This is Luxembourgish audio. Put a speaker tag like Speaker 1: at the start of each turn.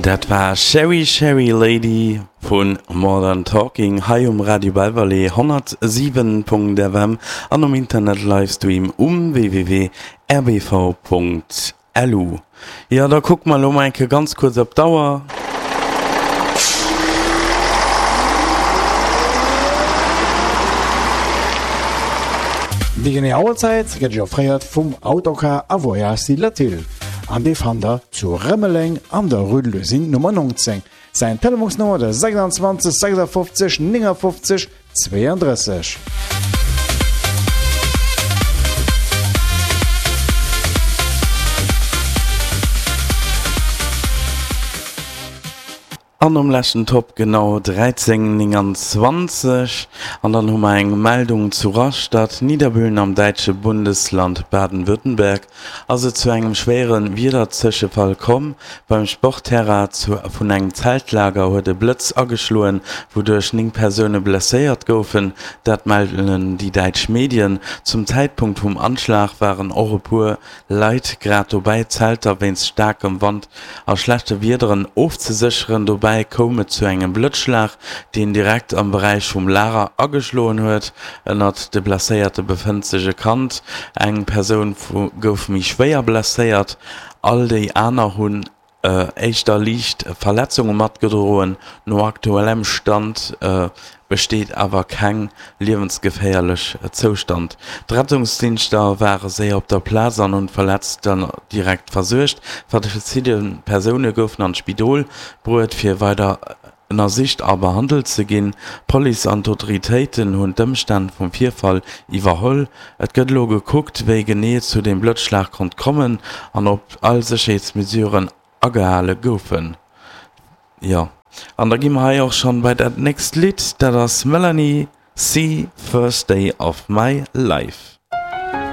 Speaker 1: Dat war Cheri Cheri Lady vu Modern Talking hei um Radio Belvalée 107.fm an um Internet Livestream um www.rbv.lu. Jo, da kucke mer elo mol eng Kéier ganz kuerz op d'Auer.
Speaker 2: Déi genee Auerzäit gëtt Iech offréiert vum Autocar a Voyage Silatile an dee fannt der zu Rëmeleng an der Rue de l'Usine Nummer 19. Säin Telefonsnummer de 26 56 59 32.
Speaker 1: An um leschten Top genau 13,29. An dann hu mer eng Meldung zu Rastatt, Niederbühlen am däitsche Bundesland Baden-Württemberg ass et zu engem schwéiere Wiederzëschefall komm. Beim Sportterrain vun engem Zeltlager huet e Blëtz ageschloen, wouduerch 9 Persoune blesséiert goufen. Dat mellen déi däitsch Medien. Zum Zäitpunkt vum Anschlag waren och e puer Leit grad dobäi, d'Zelter wéinst staarkem Wand a schlechte Wiederen ofzesécheren. Dobäi koum et zu engem Blëtzschlag, deen direkt am Beräich vum Lager ageschloen huet. Ënnert de Blesséierte befënnt sech e Kand. Eng Persoun gouf méi schwéier blesséiert, all déi aner hunn éischter liicht Verletzunge matgedroen. No aktuellem Stand besteet awer keng liewensgeféierlech Zoustand. D'Rettungsdingschter ware séier op der Plaz an hunn d'Verletzten direkt versuergt. Verschidde Persoune goufen an d'Spidol bruet, fir weider ënnersicht a behandelt ze ginn. D'Police an d'Autoritéiten hunn d'Ëmstänn vum Virfall iwwerholl. Et gëtt elo gekuckt, wéi genee et zu dem Blëtzschlag konnt kommen an ob all Sécherheetsmesuren agehale goufen. Jo, an da gi mer hei och schonn bei dat nächst Lidd, dat ass Melanie C. First Day of My Life.